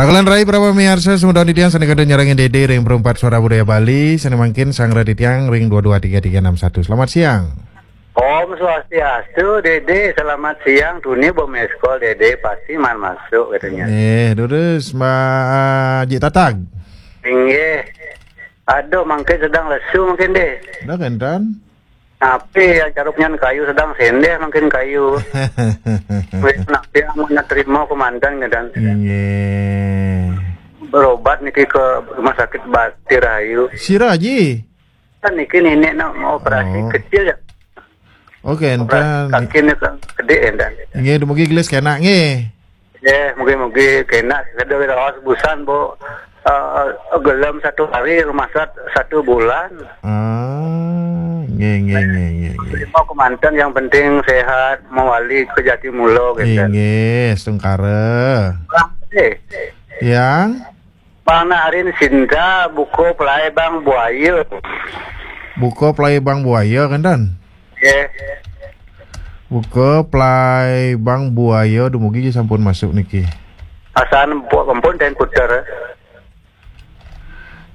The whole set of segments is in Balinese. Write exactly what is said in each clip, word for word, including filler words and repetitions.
Kakulan rai para pamiarsa, sumedon titiang sane kada nyarengin Dede ring Perumpat Suara Budaya Bali, sane mangkin sangra titiang ring dua dua tiga tiga enam satu. Selamat siang. Om Swastiastu, Dede. Selamat siang. Tuni bo meskol, Dede. Pasti man masuk, katanya. Eh, durus, Mbak Ji Tatag. Inggih. Aduh, mangkin sedang lesu, mangkin, deh. Dah, kentan. Napi yang caruknya kayu sedang sendeh, mangkin kayu. Wis, napi yang mana terima komandan, katanya. Inggih. Berobat niki ke rumah sakit Bati Rahayu. Sira, Ji? Kan niki nenek nak mau operasi Oh. kecil ya. Oke, Operasi entan. Kaki ni kan gede, entan. Nggih, dumugi gelis kenak nggih. Ya, mungkin-mungkin kena. Kada raos busan, Bu. Eh, gelem satu hari, rumasa satu bulan. Ah, nggih, nggih, nggih, nggih, nggih. Terima komandan, yang penting sehat, mawali ke Jati Mula, gitu. Inggih, setungkara. Bang, eh, Yang? Bang, nak arin Sinta, buka pelai Bang Buaya. Buka pelai Bang Buaya, kan, Dan? Ya. Buka pelai Bang Buaya, dumugi sampun masuk niki. Asan bu-, ampun, dan puter.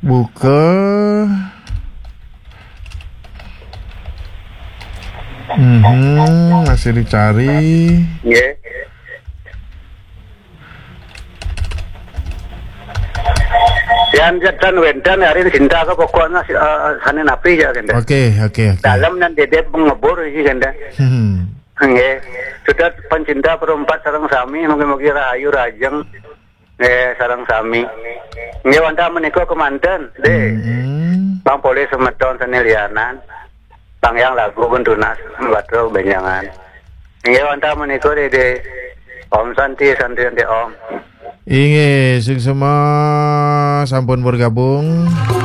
Buka. Mhm, masih dicari. Ya. Yan jatan wentan arin Sinta ke pokoknya si-, eh, sane napi ya, kenda. Oke, oke, oke. Dalam nan Dede pengebur iki, kenda. Hmm. Nggih. Sudah pencinta Perumpat sareng sami, mugi-mugi rahayu rajeng. Nggih, sareng sami. Nggih, wantah menika kemanten, deh. Hmm. Bang Polih semeton sane lianan. Bang Yang lagu pun tunas, batur benjangan. Nggih, wantah menika, deh, deh. Om Santi, Santi, Santi, Om. Inggih, sing semua sampun bergabung.